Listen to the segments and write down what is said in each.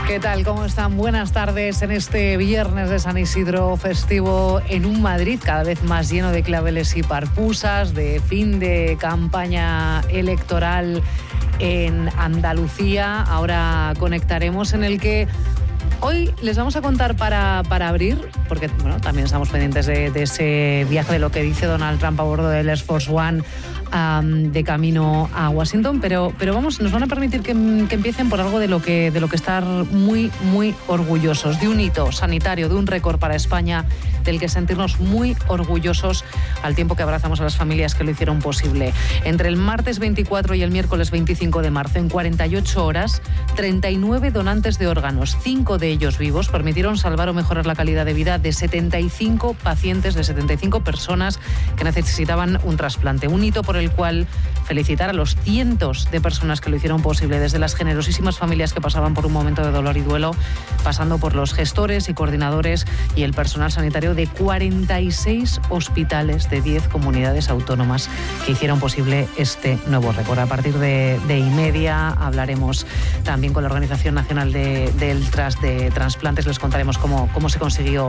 ¿Qué tal? ¿Cómo están? Buenas tardes en este viernes de San Isidro festivo en un Madrid cada vez más lleno de claveles y parpusas, de fin de campaña electoral en Andalucía. Ahora conectaremos en el que hoy les vamos a contar para abrir, porque bueno, también estamos pendientes de ese viaje, de lo que dice Donald Trump a bordo del Air Force One de camino a Washington, pero vamos, nos van a permitir que empiecen por algo de lo que estar muy, muy orgullosos, de un hito sanitario, de un récord para España, del que sentirnos muy orgullosos al tiempo que abrazamos a las familias que lo hicieron posible. Entre el martes 24 y el miércoles 25 de marzo, en 48 horas, 39 donantes de órganos, 5 de ellos vivos, permitieron salvar o mejorar la calidad de vida de 75 pacientes, de 75 personas que necesitaban un trasplante. Un hito por el cual felicitar a los cientos de personas que lo hicieron posible, desde las generosísimas familias que pasaban por un momento de dolor y duelo, pasando por los gestores y coordinadores y el personal sanitario de 46 hospitales de 10 comunidades autónomas que hicieron posible este nuevo récord. A partir de 1:30 hablaremos también con la Organización Nacional de Trasplantes, les contaremos cómo se consiguió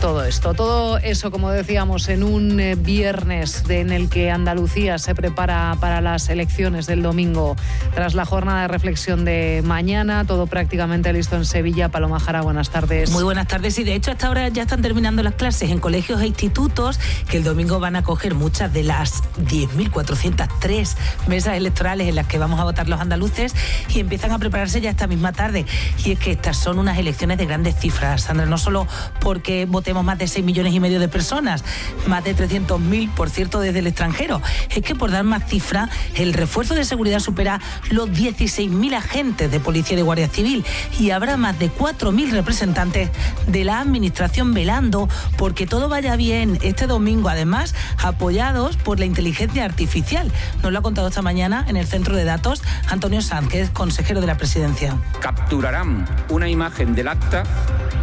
todo esto. Todo eso, como decíamos, en un viernes en el que Andalucía se prepara para las elecciones del domingo, tras la jornada de reflexión de mañana, todo prácticamente listo en Sevilla. Paloma Jara, buenas tardes. Muy buenas tardes, y de hecho hasta ahora ya están terminando las clases en colegios e institutos, que el domingo van a coger muchas de las 10.403 mesas electorales en las que vamos a votar los andaluces, y empiezan a prepararse ya esta misma tarde. Y es que estas son unas elecciones de grandes cifras, Sandra, no solo porque votemos más de 6,5 millones de personas, más de 300.000, por cierto, desde el extranjero. Es que, por dar más cifra, el refuerzo de seguridad supera los 16.000 agentes de policía y de guardia civil, y habrá más de 4.000 representantes de la administración velando porque todo vaya bien este domingo, además apoyados por la inteligencia artificial. Nos lo ha contado esta mañana en el centro de datos Antonio Sanz, que es consejero de la presidencia. Capturarán una imagen del acta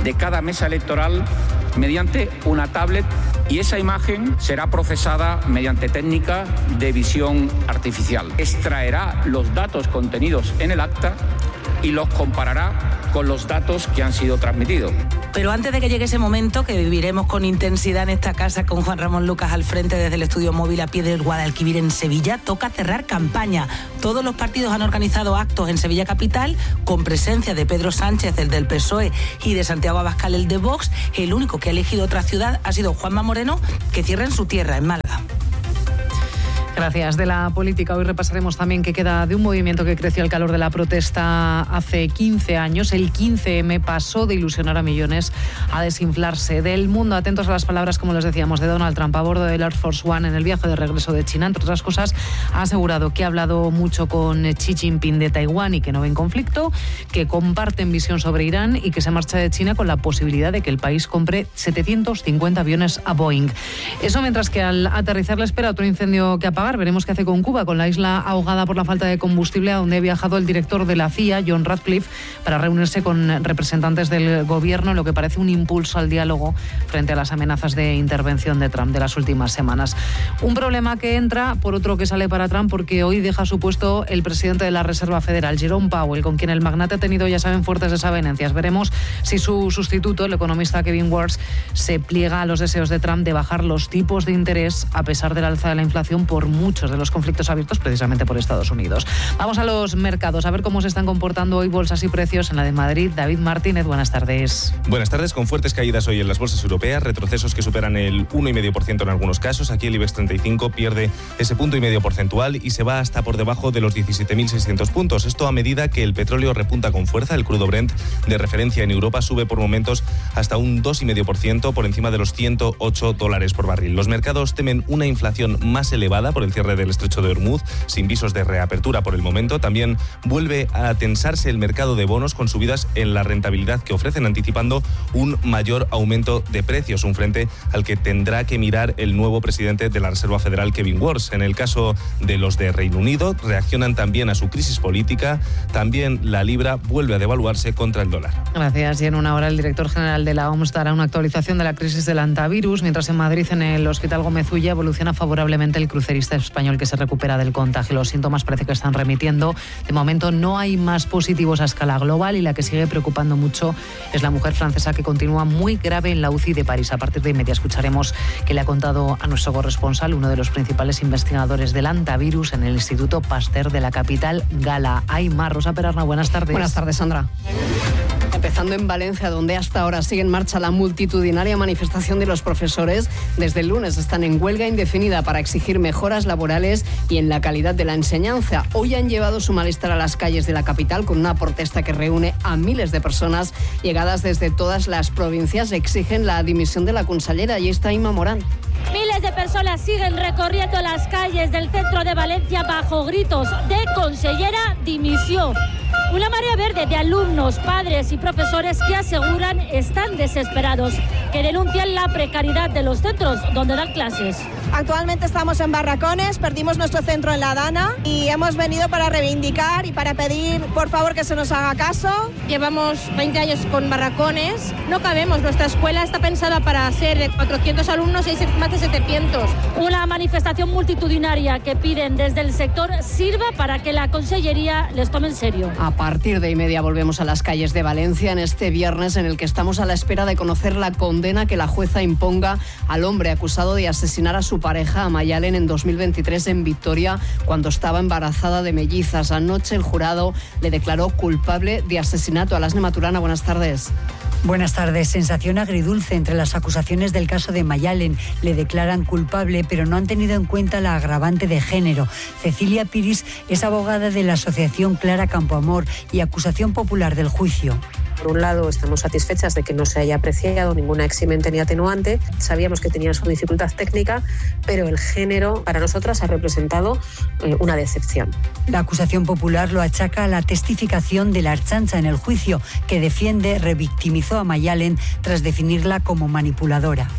de cada mesa electoral mediante una tablet, y esa imagen será procesada mediante técnica de visión artificial. Extraerá los datos contenidos en el acta y los comparará con los datos que han sido transmitidos. Pero antes de que llegue ese momento, que viviremos con intensidad en esta casa con Juan Ramón Lucas al frente desde el estudio móvil a pie del Guadalquivir en Sevilla, toca cerrar campaña. Todos los partidos han organizado actos en Sevilla capital con presencia de Pedro Sánchez, el del PSOE, y de Santiago Abascal, el de Vox. El único que ha elegido otra ciudad ha sido Juanma Moreno, que cierra en su tierra, en Málaga. Gracias. De la política hoy repasaremos también qué queda de un movimiento que creció al calor de la protesta hace 15 años. El 15M pasó de ilusionar a millones a desinflarse. Del mundo, atentos a las palabras, como les decíamos, de Donald Trump a bordo del Air Force One en el viaje de regreso de China. Entre otras cosas, ha asegurado que ha hablado mucho con Xi Jinping de Taiwán y que no ven conflicto, que comparten visión sobre Irán y que se marcha de China con la posibilidad de que el país compre 750 aviones a Boeing. Eso mientras que al aterrizar le espera otro incendio que apagar. Veremos qué hace con Cuba, con la isla ahogada por la falta de combustible, a donde ha viajado el director de la CIA, John Ratcliffe, para reunirse con representantes del gobierno, en lo que parece un impulso al diálogo frente a las amenazas de intervención de Trump de las últimas semanas. Un problema que entra por otro que sale para Trump, porque hoy deja su puesto el presidente de la Reserva Federal, Jerome Powell, con quien el magnate ha tenido, ya saben, fuertes desavenencias. Veremos si su sustituto, el economista Kevin Warsh, se pliega a los deseos de Trump de bajar los tipos de interés a pesar del alza de la inflación por muchos de los conflictos abiertos precisamente por Estados Unidos. Vamos a los mercados, a ver cómo se están comportando hoy bolsas y precios. En la de Madrid, David Martínez, buenas tardes. Buenas tardes, con fuertes caídas hoy en las bolsas europeas, retrocesos que superan el 1,5% en algunos casos. Aquí el IBEX 35 pierde ese 1,5% porcentual y se va hasta por debajo de los 17.600 puntos. Esto a medida que el petróleo repunta con fuerza. El crudo Brent de referencia en Europa sube por momentos hasta un 2,5% por encima de los $108 por barril. Los mercados temen una inflación más elevada por el cierre del estrecho de Hormuz, sin visos de reapertura por el momento. También vuelve a tensarse el mercado de bonos con subidas en la rentabilidad que ofrecen, anticipando un mayor aumento de precios, un frente al que tendrá que mirar el nuevo presidente de la Reserva Federal, Kevin Warsh. En el caso de los de Reino Unido, reaccionan también a su crisis política. También la libra vuelve a devaluarse contra el dólar. Gracias. Y en una hora el director general de la OMS dará una actualización de la crisis del antivirus, mientras en Madrid, en el Hospital Gómez Ulla, evoluciona favorablemente el crucerista turista español que se recupera del contagio. Los síntomas parece que están remitiendo. De momento no hay más positivos a escala global y la que sigue preocupando mucho es la mujer francesa que continúa muy grave en la UCI de París. A partir de media escucharemos que le ha contado a nuestro corresponsal, uno de los principales investigadores del antivirus en el Instituto Pasteur de la capital gala. Hay más. Rosa Perarna, buenas tardes. Buenas tardes, Sandra. Empezando en Valencia, donde hasta ahora sigue en marcha la multitudinaria manifestación de los profesores. Desde el lunes están en huelga indefinida para exigir mejoras laborales y en la calidad de la enseñanza. Hoy han llevado su malestar a las calles de la capital con una protesta que reúne a miles de personas llegadas desde todas las provincias. Exigen la dimisión de la consellera. Y está Inma Morán. Miles de personas siguen recorriendo las calles del centro de Valencia bajo gritos de consellera dimisión. Una marea verde de alumnos, padres y profesores que aseguran están desesperados, que denuncian la precariedad de los centros donde dan clases. Actualmente estamos en barracones, perdimos nuestro centro en La Dana y hemos venido para reivindicar y para pedir, por favor, que se nos haga caso. Llevamos 20 años con barracones, no cabemos, nuestra escuela está pensada para ser 400 alumnos y hay más de 700. Una manifestación multitudinaria que piden desde el sector sirva para que la consellería les tome en serio. A partir de 1:30 volvemos a las calles de Valencia en este viernes en el que estamos a la espera de conocer la condena que la jueza imponga al hombre acusado de asesinar a su pareja, a Mayalen, en 2023 en Vitoria, cuando estaba embarazada de mellizas. Anoche el jurado le declaró culpable de asesinato. Alasne Maturana, buenas tardes. Buenas tardes. Sensación agridulce entre las acusaciones del caso de Mayalen. Le declaran culpable, pero no han tenido en cuenta la agravante de género. Cecilia Piris es abogada de la asociación Clara Campoamor y acusación popular del juicio. Por un lado, estamos satisfechas de que no se haya apreciado ninguna eximente ni atenuante. Sabíamos que tenía su dificultad técnica, pero el género para nosotras ha representado una decepción. La acusación popular lo achaca a la testificación de la Ertzaintza en el juicio, que defiende revictimizó a Mayalen tras definirla como manipuladora.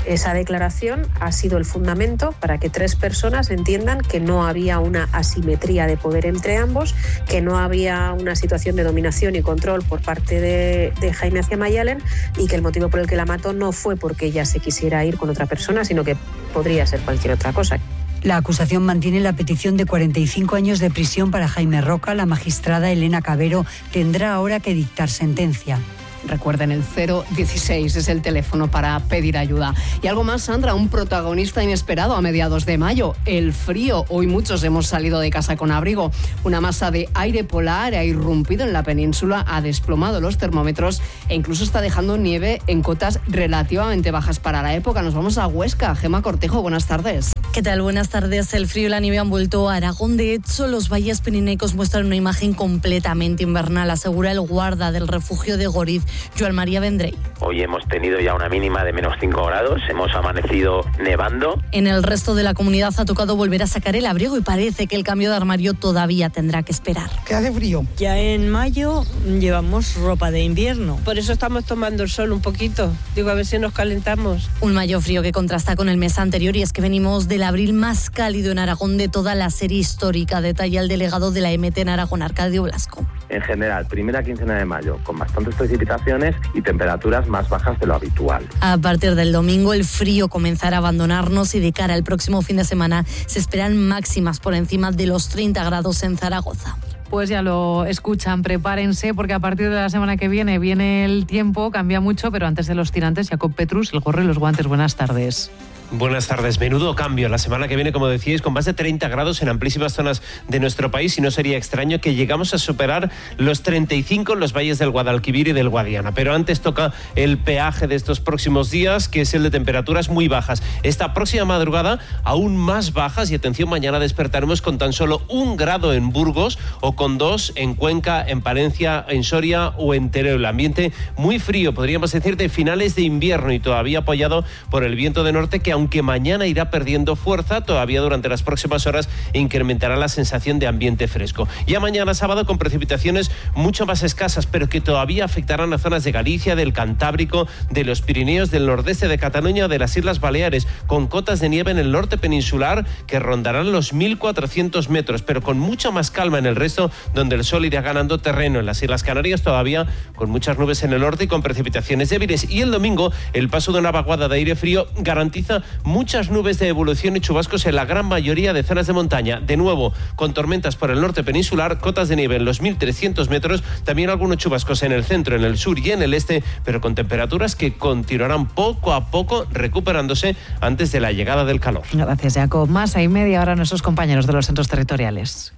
Esa declaración ha sido el fundamento para que 3 personas entiendan que no había una asimetría de poder entre ambos, que no había una situación de dominación y control por parte de Jaime hacia Mayalen y que el motivo por el que la mató no fue porque ella se quisiera ir con otra persona, sino que podría ser cualquier otra cosa. La acusación mantiene la petición de 45 años de prisión para Jaime Roca. La magistrada Elena Cabero tendrá ahora que dictar sentencia. Recuerden, el 016 es el teléfono para pedir ayuda. Y algo más, Sandra, un protagonista inesperado a mediados de mayo, el frío. Hoy muchos hemos salido de casa con abrigo. Una masa de aire polar ha irrumpido en la península, ha desplomado los termómetros e incluso está dejando nieve en cotas relativamente bajas para la época. Nos vamos a Huesca. Gemma Cortejo, buenas tardes. ¿Qué tal? Buenas tardes. El frío y la nieve han vuelto a Aragón. De hecho, los valles pirenaicos muestran una imagen completamente invernal, asegura el guarda del refugio de Goriz, Joan María Vendrell. Hoy hemos tenido ya una mínima de menos 5 grados, hemos amanecido nevando. En el resto de la comunidad ha tocado volver a sacar el abrigo y parece que el cambio de armario todavía tendrá que esperar. ¿Qué hace frío? Ya en mayo llevamos ropa de invierno. Por eso estamos tomando el sol un poquito. Digo, a ver si nos calentamos. Un mayo frío que contrasta con el mes anterior, y es que venimos del abril más cálido en Aragón de toda la serie histórica, detalla el delegado de la EMT en Aragón, Arcadio Blasco. En general, primera quincena de mayo, con bastantes precipitaciones y temperaturas más bajas de lo habitual. A partir del domingo el frío comenzará a abandonarnos y de cara al próximo fin de semana se esperan máximas por encima de los 30 grados en Zaragoza. Pues ya lo escuchan, prepárense porque a partir de la semana que viene el tiempo, cambia mucho, pero antes de los tirantes, Jacob Petrus, el gorro y los guantes. Buenas tardes. Buenas tardes. Menudo cambio la semana que viene, como decíais, con más de 30 grados en amplísimas zonas de nuestro país, y no sería extraño que llegamos a superar los 35 en los valles del Guadalquivir y del Guadiana. Pero antes toca el peaje de estos próximos días, que es el de temperaturas muy bajas. Esta próxima madrugada aún más bajas, y atención, mañana despertaremos con tan solo 1 grado en Burgos o con 2 en Cuenca, en Palencia, en Soria o en Teruel. El ambiente muy frío, podríamos decir de finales de invierno, y todavía apoyado por el viento de norte, que aunque mañana irá perdiendo fuerza, todavía durante las próximas horas incrementará la sensación de ambiente fresco. Ya mañana sábado con precipitaciones mucho más escasas, pero que todavía afectarán a zonas de Galicia, del Cantábrico, de los Pirineos, del nordeste de Cataluña o de las Islas Baleares, con cotas de nieve en el norte peninsular que rondarán los 1.400 metros, pero con mucha más calma en el resto, donde el sol irá ganando terreno. En las Islas Canarias todavía con muchas nubes en el norte y con precipitaciones débiles. Y el domingo el paso de una vaguada de aire frío garantiza muchas nubes de evolución y chubascos en la gran mayoría de zonas de montaña. De nuevo, con tormentas por el norte peninsular, cotas de nieve en los 1.300 metros, también algunos chubascos en el centro, en el sur y en el este, pero con temperaturas que continuarán poco a poco recuperándose antes de la llegada del calor. Gracias, Jacob. Más a media hora nuestros compañeros de los centros territoriales.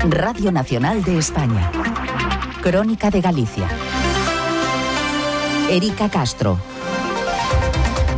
Radio Nacional de España. Crónica de Galicia. Erika Castro.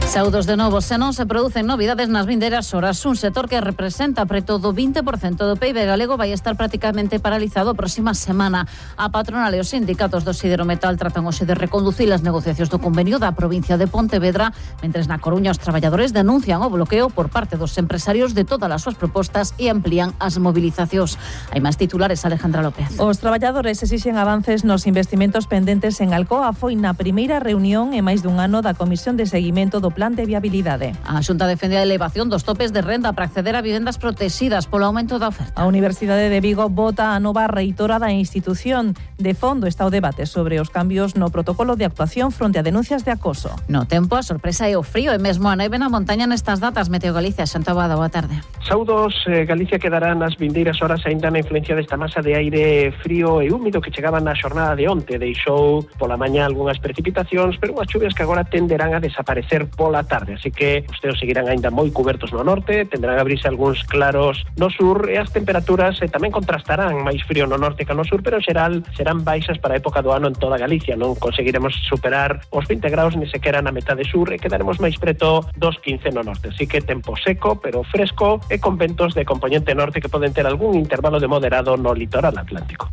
Saudos de novo, se non se producen novidades nas vindeiras horas. Un sector que representa preto do 20% do PIB galego vai estar prácticamente paralizado a próxima semana. A patronal e os sindicatos do Siderometal tratan hoxe de reconducir as negociacións do convenio da provincia de Pontevedra, mentres na Coruña os traballadores denuncian o bloqueo por parte dos empresarios de todas as súas propostas e amplían as movilizacións. Hai máis titulares, Alejandra López. Os traballadores exixen avances nos investimentos pendentes en Alcoa. Foi na primeira reunión en máis dun ano da Comisión de Seguimento do Plan de Viabilidade. A Xunta defende a elevación dos topes de renda para acceder a vivendas protegidas polo aumento da oferta. A Universidade de Vigo vota a nova reitora da institución. De fondo está o debate sobre os cambios no protocolo de actuación fronte a denuncias de acoso. No tempo, a sorpresa é o frío e mesmo a neve na montaña nestas datas. Meteo Galicia, Xanta Abada, boa tarde. Saudos, Galicia quedará nas vindeiras horas aínda na influencia desta masa de aire frío e húmido que chegaba na xornada de onte. Deixou pola mañá algunhas precipitacións, pero unhas chuvias que agora tenderán a desaparecer pola tarde. Así que os ceos seguirán aínda moi cubertos no norte, tenderán a abrirse algúns claros no sur e as temperaturas tamén contrastarán máis frío no norte que no sur, pero en xeral serán baixas para a época do ano en toda Galicia. Non conseguiremos superar os 20 graus ni sequera na metade sur e quedaremos máis preto dos 15 no norte. Así que tempo seco, pero fresco e con ventos de componente norte que poden ter algún intervalo de moderado no litoral atlántico.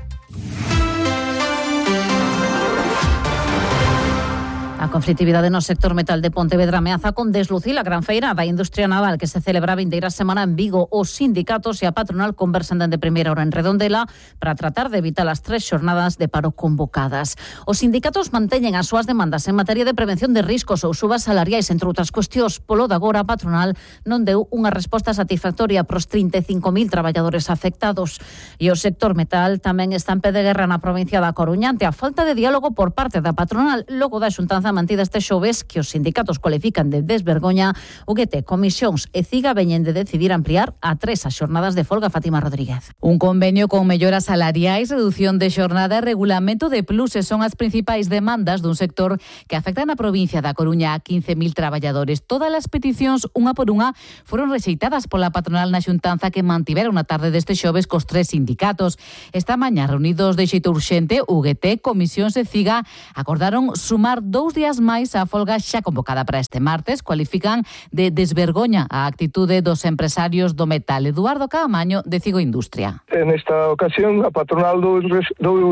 A conflitividade no sector metal de Pontevedra ameaza con deslucir a gran feira da industria naval que se celebra a vindeira semana en Vigo. Os sindicatos e a patronal conversan dende primeira hora en Redondela para tratar de evitar as 3 xornadas de paro convocadas. Os sindicatos manteñen as súas demandas en materia de prevención de riscos ou subas salariais, entre outras cuestións. Polo de agora, a patronal non deu unha resposta satisfactoria pros 35.000 traballadores afectados. E o sector metal tamén está en pé de guerra na provincia da Coruña ante a falta de diálogo por parte da patronal logo da xuntanza mantida este xoves que os sindicatos cualifican de desvergoña. UGT, Comisións e CIGA veñen de decidir ampliar a 3 as xornadas de folga. Fátima Rodríguez. Un convenio con melloras salariais, reducción de xornada e regulamento de pluses son as principais demandas dun sector que afecta na provincia da Coruña a 15.000 traballadores. Todas as peticións, unha por unha, foron rexeitadas pola patronal na xuntanza que mantivera unha tarde deste xoves cos 3 sindicatos. Esta mañá, reunidos de xeito urxente, UGT, Comisións e CIGA acordaron sumar 2 días máis a folga xa convocada para este martes. Cualifican de desvergoña a actitude dos empresarios do metal. Eduardo Caamaño, de Cigo Industria. En esta ocasión, a patronal dou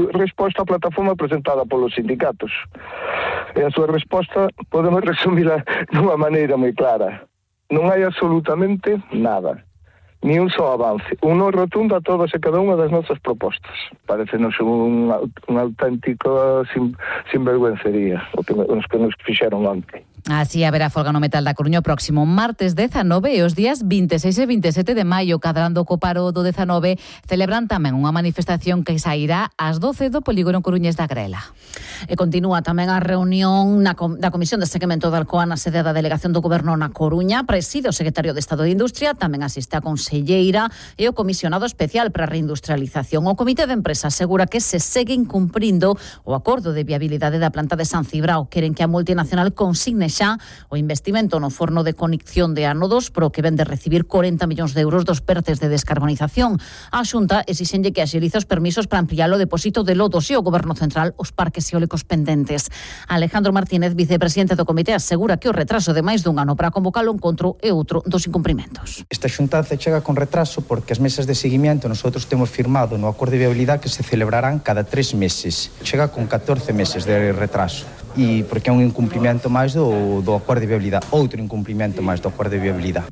resposta á plataforma presentada polos sindicatos. E a súa resposta podemos resumila dunha maneira moi clara. Non hai absolutamente nada. Ni un só avance, un no rotundo a todas e cada unha das nosas propostas. Parecenos un auténtico sinvergüencería os que nos fixeron onte. Así haberá folga no metal da Coruña o próximo martes 19 e os días 26 e 27 de maio. Cadrando co paro do 19 celebran tamén unha manifestación que sairá ás 12 do polígono coruñés da Grela. E continúa tamén a reunión da Comisión de Seguimento da Alcoa na sede da Delegación do Goberno na Coruña. Preside o secretario de Estado de Industria, tamén asiste a conselleira e o comisionado especial para a reindustrialización. O Comité de Empresa asegura que se seguen cumprindo o acordo de viabilidade da planta de San Cibrao. Queren que a multinacional consigne xa o investimento no forno de conexón de ánodos, pro que ven de recibir 40 millóns de euros dos pertes de descarbonización. A Xunta exixenlle que axilice os permisos para ampliar o depósito de lodos e o Goberno Central os parques eólicos pendentes. Alejandro Martínez, vicepresidente do Comité, asegura que o retraso de máis dun ano para convocar o encontro é outro dos incumprimentos. Esta xuntanza chega con retraso porque as mesas de seguimiento nosotros temos firmado no acordo de viabilidade que se celebrarán cada 3 meses. Chega con 14 meses de retraso. E porque é un incumprimento máis do acordo de viabilidade, outro incumprimento máis do acordo de viabilidade.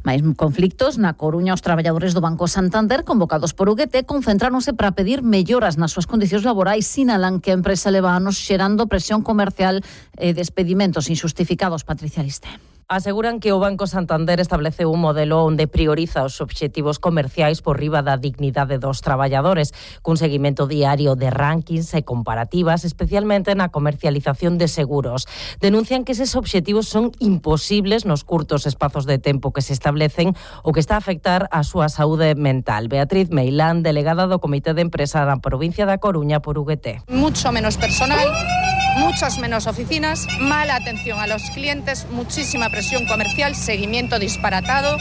Mais conflictos na Coruña. Os traballadores do Banco Santander, convocados por UGT, concentráronse para pedir melloras nas súas condicións laborais. Sinalan que a empresa leva anos xerando presión comercial e despedimentos injustificados. Patricia Liste. Aseguran que o Banco Santander establece un modelo onde prioriza os obxectivos comerciais por riba da dignidade dos traballadores, cun seguimento diario de rankings e comparativas, especialmente na comercialización de seguros. Denuncian que eses obxectivos son imposibles nos curtos espazos de tempo que se establecen, o que está a afectar a súa saúde mental. Beatriz Meilán, delegada do Comité de Empresa da provincia da Coruña por UGT. Mucho menos personal, muchas menos oficinas, mala atención a los clientes, muchísima presión comercial, seguimiento disparatado,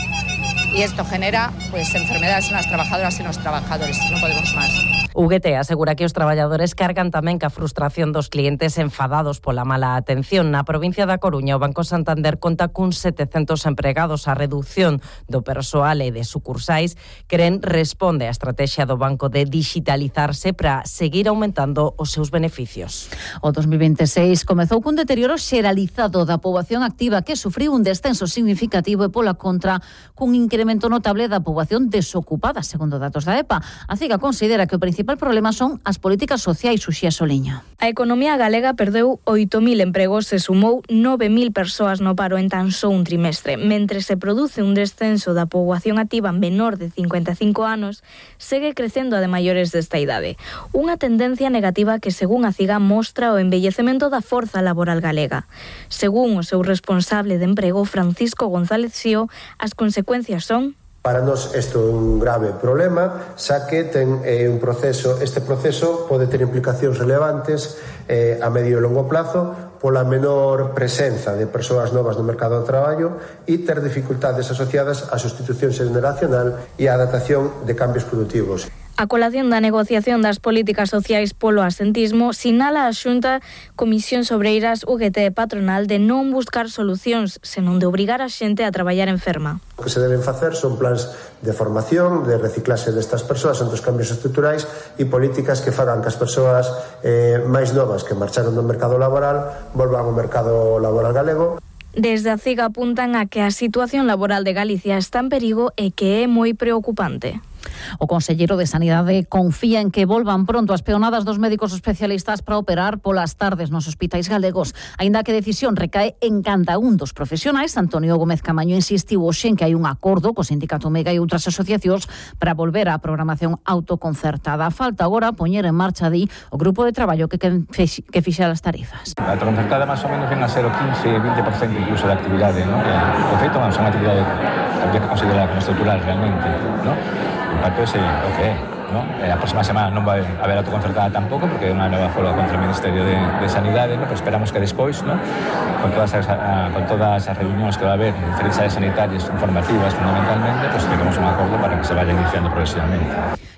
y esto genera enfermedades en las trabajadoras y en los trabajadores. No podemos más. UGT asegura que os traballadores cargan tamén ca frustración dos clientes enfadados pola mala atención. Na provincia da Coruña, o Banco Santander conta cun 700 empregados. A reducción do persoal e de sucursais responde á estrategia do banco de digitalizarse para seguir aumentando os seus beneficios. O 2026 comezou cun deterioro xeralizado da poboación activa, que sufriu un descenso significativo, e pola contra cun incremento notable da poboación desocupada, segundo datos da EPA. A CIGA considera que o principal problema son as políticas sociais. Uxía Soliño. A economía galega perdeu 8.000 empregos e sumou 9.000 persoas no paro en tan só un trimestre. Mentre se produce un descenso da poboación activa menor de 55 anos, segue crecendo a de maiores desta idade. Unha tendencia negativa que, según a CIGA, mostra o envellecemento da forza laboral galega. Según o seu responsable de emprego, Francisco González Xío, as consecuencias son: para nós isto é un grave problema, xa que este proceso pode ter implicacións relevantes a medio e longo plazo pola menor presenza de persoas novas no mercado do traballo e ter dificultades asociadas á sustitución xeneracional e á adaptación de cambios produtivos. A colación da negociación das políticas sociais polo asentismo sinala a Xunta Comisións Obreiras, UGT e patronal de non buscar solucións, senón de obrigar a xente a traballar enferma. O que se deben facer son plans de formación, de reciclaxe destas persoas entre os cambios estruturais e políticas que fagan que as persoas máis novas que marcharon do mercado laboral volvan ao mercado laboral galego. Desde a CIGA apuntan a que a situación laboral de Galicia está en perigo e que é moi preocupante. O conselleiro de Sanidade confía en que volvan pronto as peonadas dos médicos especialistas para operar polas tardes nos hospitais galegos. Aínda que a decisión recae en cada un dos profesionais, Antonio Gómez Camaño insistiu hoxe en que hai un acordo co Sindicato Mega e outras asociacións para volver á programación autoconcertada. Falta agora poñer en marcha o grupo de traballo que fixera as tarifas. A autoconcertada máis ou menos ven a ser o 15-20% incluso da actividade, ¿no? De feito, é unha actividade que habría que considerar como estrutural realmente, ¿no? O impacto é o que é, ¿no? A próxima semana non vai haber autoconcertada tampouco, porque é unha nova folga contra o Ministerio de Sanidade, ¿no? Pero esperamos que despois, ¿no? Con todas as reunións que va a haber en diferentes áreas sanitarias informativas fundamentalmente, pues lleguemos a un acordo para que se vaya iniciando progresivamente.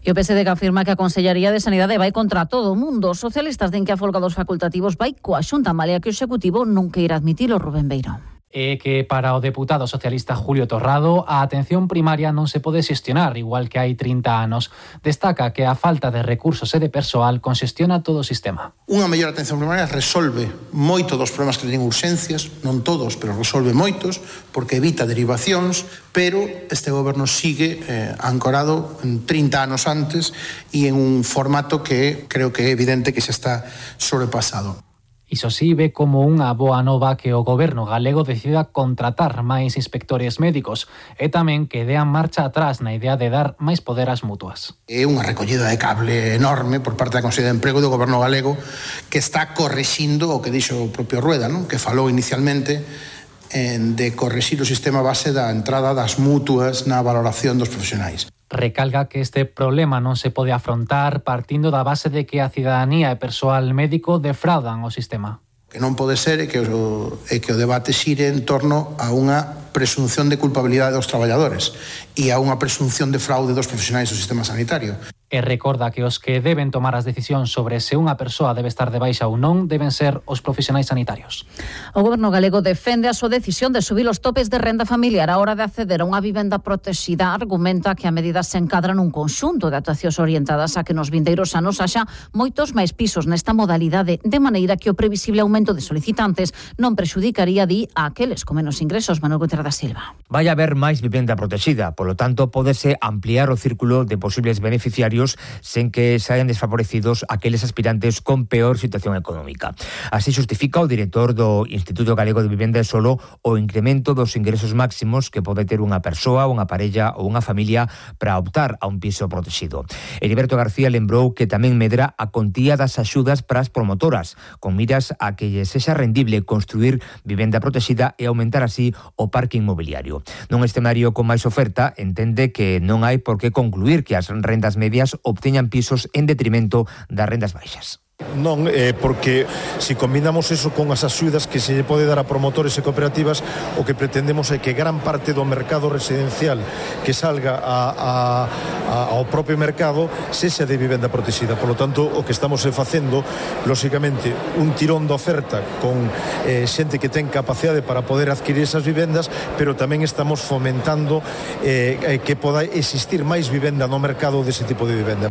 E o PSD que afirma que a Consellería de Sanidade vai contra todo o mundo. Os socialistas din que a folga dos facultativos vai coa Xunta, malia que o Executivo non queira admitilo. Rubén Beiro. É que para o deputado socialista Julio Torrado a atención primaria non se pode xestionar igual que hai 30 anos. Destaca que a falta de recursos e de persoal conxestiona todo o sistema. Unha mellor atención primaria resolve moito dos problemas que teñen urxencias, non todos, pero resolve moitos, porque evita derivacións, pero este goberno sigue ancorado en 30 anos antes e en un formato que creo que é evidente que xa está sobrepasado. Iso sí, ve como unha boa nova que o goberno galego decida contratar máis inspectores médicos e tamén que dean marcha atrás na idea de dar máis poder ás mutuas. É unha recollida de cable enorme por parte da Consellería de Emprego do goberno galego que está correxindo o que dixo o propio Rueda, ¿no? Que falou inicialmente de correxir o sistema base da entrada das mutuas na valoración dos profesionais. Recalga que este problema non se pode afrontar partindo da base de que a cidadanía e persoal médico defraudan o sistema. Que non pode ser que o debate xire en torno a unha presunción de culpabilidade dos traballadores e a unha presunción de fraude dos profesionais do sistema sanitario. E recorda que os que deben tomar as decisións sobre se unha persoa debe estar de baixa ou non deben ser os profesionais sanitarios. O goberno galego defende a súa decisión de subir os topes de renda familiar a hora de acceder a unha vivenda protexida. Argumenta que a medida se encadra nun conxunto de actuacións orientadas a que nos vindeiros anos haxa moitos máis pisos nesta modalidade, de maneira que o previsible aumento de solicitantes non prexudicaría, a aqueles con menos ingresos. Manuel Gutiérrez da Silva. Vai haber máis vivenda protexida, polo tanto, pódese ampliar o círculo de posibles beneficiarios sen que saian desfavorecidos aqueles aspirantes con peor situación económica. Así justifica o director do Instituto Galego de Vivenda e Solo o incremento dos ingresos máximos que pode ter unha persoa, unha parella ou unha familia para optar a un piso protegido. Heriberto García lembrou que tamén medra a contía das axudas para as promotoras, con miras a que lle sexa rendible construir vivenda protegida e aumentar así o parque inmobiliario. Nun escenario con máis oferta, entende que non hai por que concluir que as rendas medias obteñan pisos en detrimento das rendas baixas. Non, porque se combinamos eso con as axudas que se lle pode dar a promotores e cooperativas, o que pretendemos é que gran parte do mercado residencial que salga ao propio mercado sexa de vivenda protegida. Por lo tanto, o que estamos facendo, lóxicamente, un tirón de oferta con xente que ten capacidade para poder adquirir esas vivendas, pero tamén estamos fomentando que poda existir máis vivenda no mercado dese tipo de vivenda.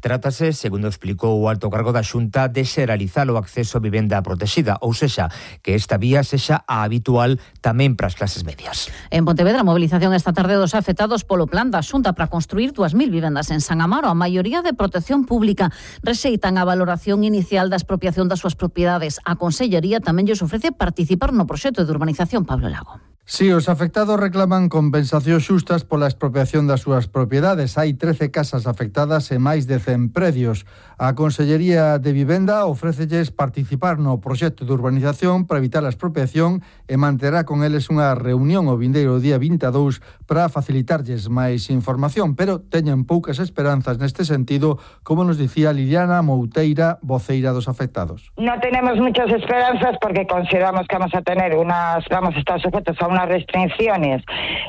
Trátase, segundo explicou o alto cargo da Xunta, de xeralizar o acceso a vivenda protegida, ou sexa, que esta vía sexa a habitual tamén para as clases medias. En Pontevedra, movilización esta tarde dos afectados polo plan da Xunta para construir 2.000 vivendas en San Amaro. A maioría de protección pública rexeitan a valoración inicial da expropiación das súas propiedades. A Consellería tamén lles ofrece participar no proxecto de urbanización Pablo Lago. Si, os afectados reclaman compensacións xustas pola expropiación das súas propiedades. Hai 13 casas afectadas e máis de 100 predios. A Consellería de Vivenda ofrécelles participar no proxecto de urbanización para evitar a expropiación e manterá con eles unha reunión o vindeiro día 22 para facilitarlles máis información, pero teñen poucas esperanzas neste sentido, como nos dicía Liliana Mouteira, voceira dos afectados. No tenemos muchas esperanzas porque consideramos que vamos a estar sujetos a unas restricciones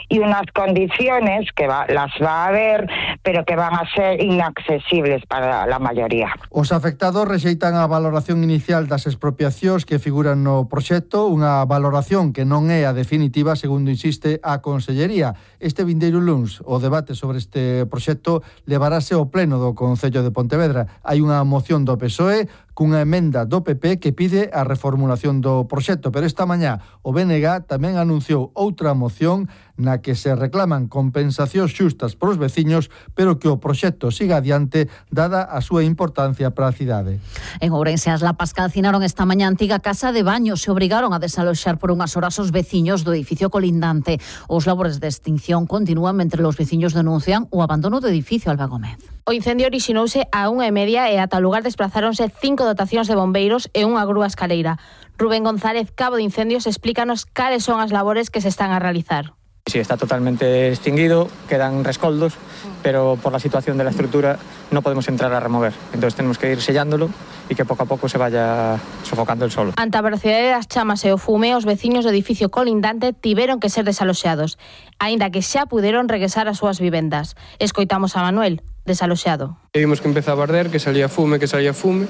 y unas condiciones que las va a haber, pero que van a ser inaccesibles para la mayoría. Os afectados rexeitan a valoración inicial das expropiacións que figuran no proxecto, unha valoración que non é a definitiva, segundo insiste a Consellería. Este vindeiro luns, o debate sobre este proxecto levarase ao pleno do Concello de Pontevedra. Hai unha moción do PSOE cunha emenda do PP que pide a reformulación do proxecto, pero esta mañá o BNG tamén anunciou outra moción na que se reclaman compensacións xustas para os veciños, pero que o proxecto siga adiante dada a súa importancia para a cidade. En Ourense, as lapas calcinaron esta mañá a antiga casa de baño, se obrigaron a desaloxar por unhas horas os veciños do edificio colindante. Os labores de extinción continúan mentre os veciños denuncian o abandono do edificio. Alba Gómez. O incendio orixinouse a 1:30 e ata o lugar desplazáronse 5 dotacións de bombeiros e unha grúa escaleira. Rubén González, cabo de incendios, explícanos cales son as labores que se están a realizar. Sí, está totalmente extinguido, quedan rescoldos, pero por la situación de la estructura no podemos entrar a remover. Entonces tenemos que ir sellándolo e que pouco a pouco se vaya sofocando el solo. Ante a velocidade das chamas e o fume, os veciños do edificio colindante tiveron que ser desaloxados, aínda que xa puderon regresar ás súas vivendas. Escoitamos a Manuel, desaloxado. Vimos que empezaba a arder, que salía fume.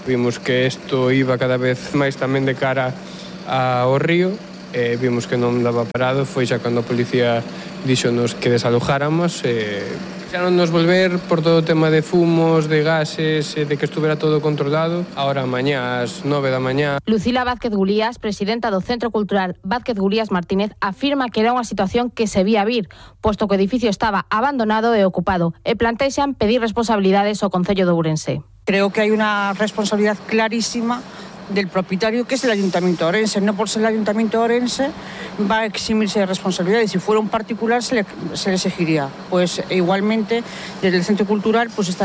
Vimos que isto iba cada vez máis tamén de cara ao río. Vimos que non daba parado, foi xa cando a policía díxonos que desalojáramos. Xa non nos volver por todo o tema de fumos, de gases, de que estuvera todo controlado. Ahora mañá ás 9 da mañá. Lucila Vázquez Gulías, presidenta do Centro Cultural Vázquez Gulías Martínez, afirma que era unha situación que se vía vir, posto que o edificio estaba abandonado e ocupado, e plantexan pedir responsabilidades ao Concello de Ourense. Creo que hai unha responsabilidad clarísima del propietario, que es el Ayuntamiento de Orense. No por ser el Ayuntamiento de Orense va a eximirse de responsabilidades. Si fuera un particular se le exigiría. Pues igualmente desde el Centro Cultural pues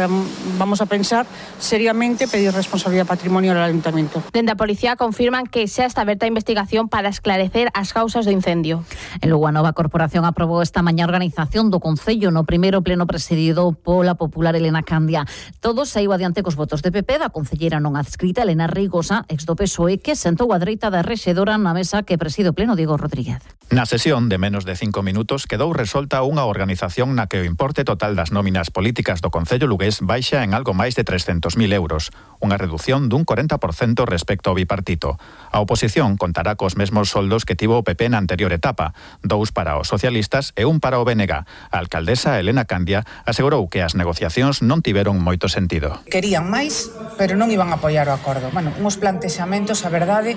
vamos a pensar seriamente pedir responsabilidad patrimonial al Ayuntamiento. Dende a Policía confirman que xa está aberta a investigación para esclarecer as causas do incendio. En Lugo, a nova corporación aprobou esta mañá a organización do Concello no primeiro pleno presidido pola popular Elena Candia. Todo saiu adiante cos votos de PP da concelleira non adscrita Elena Rigosa, ex do PSOE, que sentou a dereita da rexedora na mesa que preside o pleno Diego Rodríguez. Na sesión de menos de 5 minutos quedou resolta unha organización na que o importe total das nóminas políticas do Concello lugués baixa en algo máis de 300.000 euros, unha reducción dun 40% respecto ao bipartito. A oposición contará cos mesmos soldos que tivo o PP na anterior etapa, 2 para os socialistas e 1 para o BNG. A alcaldesa Elena Candia asegurou que as negociacións non tiveron moito sentido. Querían máis pero non iban a apoiar o acordo. Bueno, uns plantexamentos, a verdade,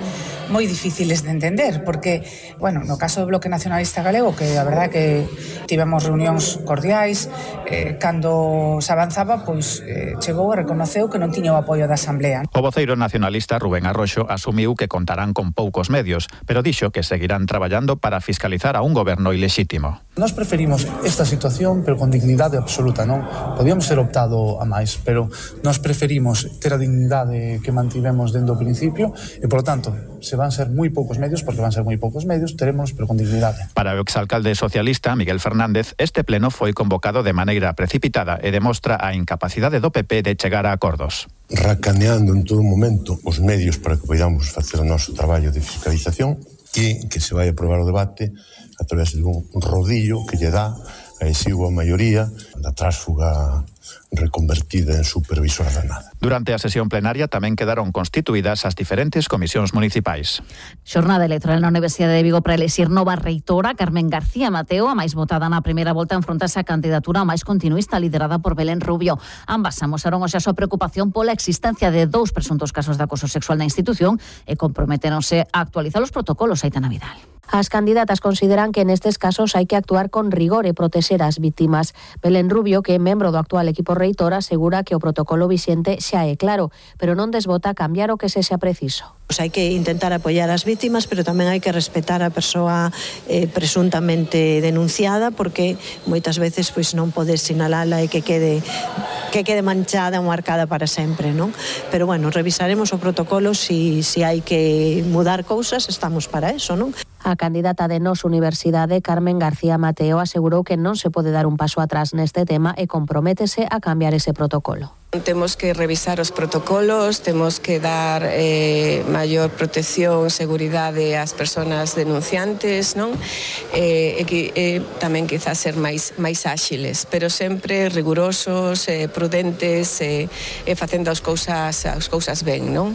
moi difíciles de entender, porque, bueno, no caso do Bloque Nacionalista Galego, que a verdade que tivemos reunións cordiais, cando se avanzaba, pois chegou e reconoceu que non tiña o apoio da Asamblea. O voceiro nacionalista Rubén Arroxo asumiu que contarán con poucos medios, pero dixo que seguirán traballando para fiscalizar a un goberno ilexítimo. Nós preferimos esta situación, pero con dignidade absoluta, non? Podíamos ter optado a máis, pero nós preferimos ter a dignidade que mantivemos dende o principio e, por lo tanto, se van ser moi poucos medios, porque van ser moi poucos medios, teremos, pero con dignidade. Para o exalcalde socialista Miguel Fernández, este pleno foi convocado de maneira precipitada e demostra a incapacidade do PP de chegar a acordos. Racaneando en todo momento os medios para que podamos facer o noso traballo de fiscalización e que se vai aprobar o debate a través de un rodillo que lle dá a exigua maioría da tránsfuga reconvertida en supervisora da nada. Durante a sesión plenaria tamén quedaron constituídas as diferentes comisións municipais. Xornada electoral na Universidade de Vigo para elixir nova reitora. Carmen García Mateo, a máis votada na primeira volta, enfrontase a candidatura máis continuista liderada por Belén Rubio. Ambas amosaron hoxe a súa preocupación pola existencia de 2 presuntos casos de acoso sexual na institución e comprometeronse a actualizar os protocolos. Aitana Vidal. As candidatas consideran que nestes casos hai que actuar con rigor e protexer as vítimas. Belén Rubio, que é membro do actual equipo reitor, asegura que o protocolo vixente xa é claro, pero non desbota cambiar o que sexa preciso. Hai que intentar apoiar as vítimas, pero tamén hai que respetar a persoa presuntamente denunciada, porque moitas veces pois non podes sinalala e que quede manchada ou marcada para sempre, non? Pero bueno, revisaremos o protocolo, si hai que mudar cousas, estamos para eso, non? A candidata de Nos Universidade, Carmen García Mateo, asegurou que non se pode dar un paso atrás neste tema e comprométese a cambiar ese protocolo. Temos que revisar os protocolos, temos que dar maior protección, seguridade ás persoas denunciantes, non? Tamén quizás ser máis áxiles, pero sempre rigurosos, prudentes e facendo as cousas ben, non?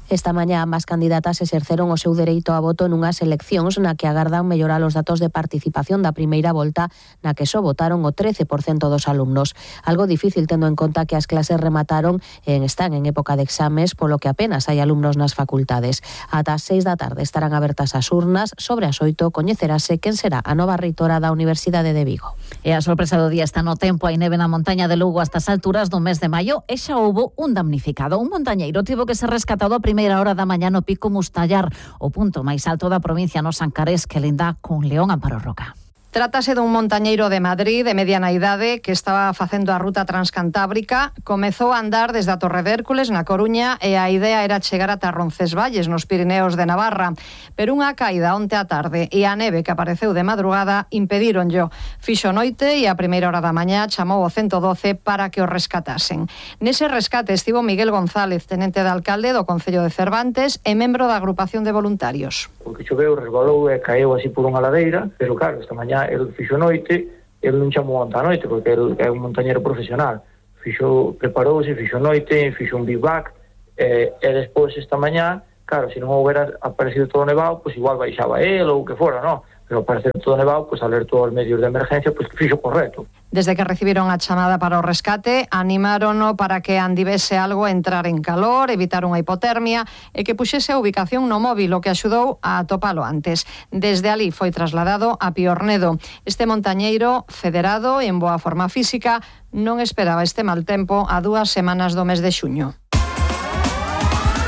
Esta mañá ambas candidatas exerceron o seu dereito a voto nunhas eleccións na que agardan mellorar os datos de participación da primeira volta, na que só votaron o 13% dos alumnos. Algo difícil tendo en conta que as clases remataron e están en época de exames, polo que apenas hai alumnos nas facultades. Ata as 6 da tarde estarán abertas as urnas. Sobre as 8 coñecerase quen será a nova reitora da Universidade de Vigo. E a sorpresa do día está no tempo. Hai neve na montaña de Lugo hasta as alturas do mes de maio e xa houbo un damnificado. Un montañeiro tivo que ser rescatado a primeira hora da mañá no Pico Mustallar, o punto máis alto da provincia no Sancarés, que linda con León Amparo Roca. Trátase dun montañeiro de Madrid de mediana idade que estaba facendo a ruta transcantábrica. Comezou a andar desde a Torre de Hércules na Coruña e a idea era chegar ata Roncesvalles nos Pirineos de Navarra, pero unha caída onte á tarde e a neve que apareceu de madrugada impedíronllo. Fixo noite e a primeira hora da mañá chamou o 112 para que o rescatasen. Nese rescate estivo Miguel González, tenente de alcalde do Concello de Cervantes e membro da agrupación de voluntarios. Porque choveu, resbalou e caeu así por unha ladeira, pero claro, esta mañá el fixo noite, el non chamou onta noite, porque el é un montañero profesional. Preparouse, fixo noite, fixo un bivac, e despois esta mañá, claro, se non houbera aparecido todo nevado, pois igual baixaba el ou o que fora, non? Pero aparecer todo nevado, pois alertou aos medios de emergencia, pois que fixo correcto. Desde que recibiron a chamada para o rescate, animárono para que andivese algo a entrar en calor, evitar unha hipotermia e que puxese a ubicación no móvil, o que axudou a atopalo antes. Desde alí foi trasladado a Piornedo. Este montañeiro, federado e en boa forma física, non esperaba este mal tempo a 2 semanas do mes de xuño.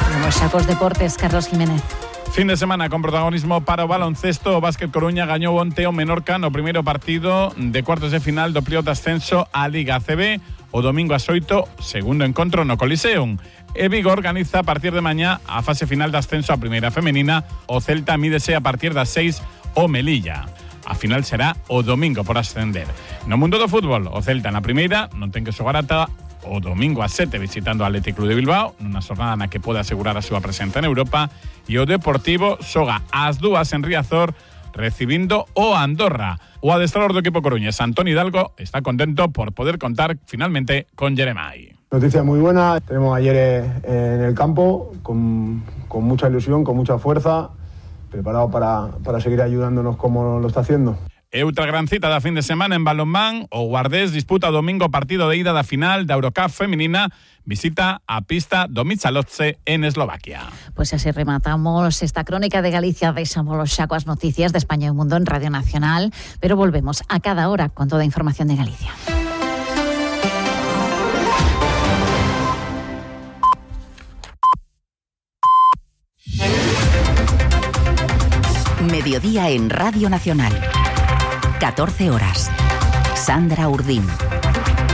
Vamos xa cos deportes, Carlos Jiménez. Fin de semana con protagonismo para o baloncesto. O Básquet Coruña gañou onte o Menorca no primeiro partido de cuartos de final do playoff de ascenso á Liga ACB. O domingo ás 8, segundo encontro no Coliseum. E Vigo organiza a partir de mañá a fase final de ascenso á primeira femenina. O Celta mídese a partir das 6 o Melilla. A final será o domingo por ascender. No mundo do fútbol, o Celta na primeira non ten que xogar ata o domingo ás 7 visitando o Athletic Club de Bilbao, nunha xornada na que pode asegurar a súa presenza en Europa, e o Deportivo xoga ás 2 en Riazor recibindo o Andorra. O adestrador do equipo coruñés, Antón Hidalgo, está contento por poder contar finalmente con Jeremai. Noticia muy buena, tenemos ayer en el campo con mucha ilusión, con mucha fuerza, preparado para seguir ayudándonos como lo está haciendo. E outra gran cita da fin de semana en balonmán, o Guardés disputa o domingo partido de ida da final da Eurocup feminina, visita a pista do Michalovce en Eslovaquia. Pues así rematamos esta crónica de Galicia. Deixamos xa coas noticias de España e o mundo en Radio Nacional, pero volvemos a cada hora con toda a información de Galicia. Mediodía en Radio Nacional. 14 horas. Sandra Urdín.